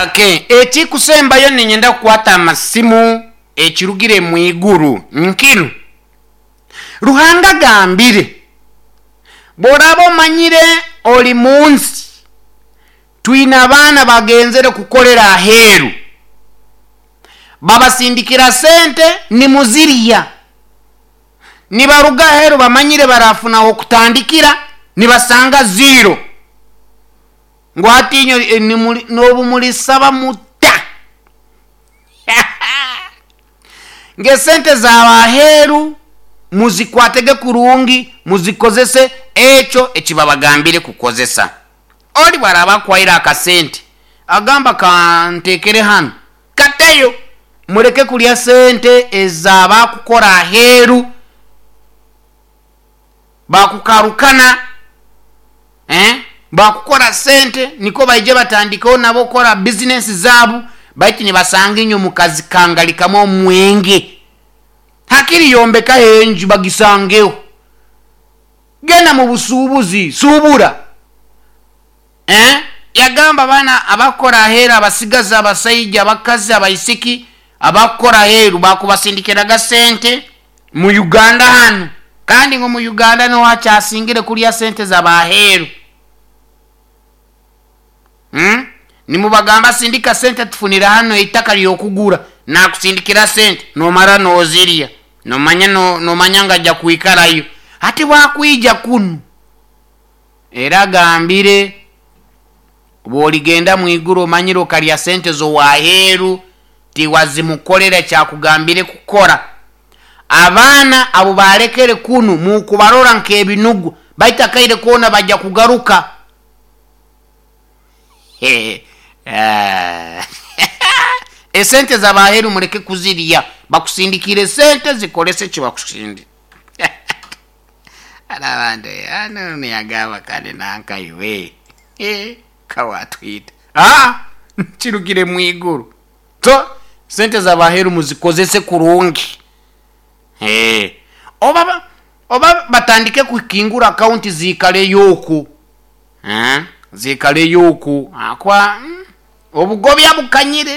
Okay, ekikusembayo ninyenda kukwata amasimu. Ekirugire mu iguru nkinu. Ruhanga agambire, bw'oraba omanyire oli mu nsi, twine abaana bagenzere kukolera aheeru, babasindikira sente nimuzirya, nibaruga aheeru bamanyire barafunaho okutandikira, nibasanga zero. Ngu hati inywe n'obu mulisaba muta ng'esente z'abaheeru muzikwatege kurungi, muzikozese ekyo ekibabagambire kukozesa. Oli bwaraba akwaire akasente agamba kantekere hanu, kateyo, muleke kulya sente ez'abakukora aheeru bakukarukana, bakukora sente niko baije batandikeho nabo kukora bizinesi zaabu, baitu nibasanga inywe mukazikangalikamu omwenge. Hakiri yombekaho enju bagisangeho, genda mu busuubuzi suubura. Yagamba abaana abakukora aheeru, abasigazi, abasaija, abakazi, abaisiki abakukora aheeru bakubasindikiraga sente mu Uganda hanu, kandi ngu mu Uganda niho hakyasingire kulya sente z'abaheeru. Nimubagamba sindika sente tufunire hano eitaka ly'okugura, nakusindikira sente nomara nozirya, nomanya nomanya nga ajja kwikarayo. Hati bwakwija kunu era agambire bw'oligenda mu iguru omanyire okalya sente z'owaheeru tiwazimukolera kyakugambire kukora. Abaana abo balekere kunu mukubarora nk'ebinugwa, baitu akaire koona bajja kugaruka. Esente z'abaheeru muleke kuzirya, bakusindikire sente zikolese ekibakusindikire. Abantu ano niyagamba kandi nankaiwe kawatwita kirugire mu iguru. So sente z'abaheeru muzikozese kurungi. Oba batandike kukingura akaunti ziikaleyo oku, ziikaleyo oku, kwa obugobya bukanyire.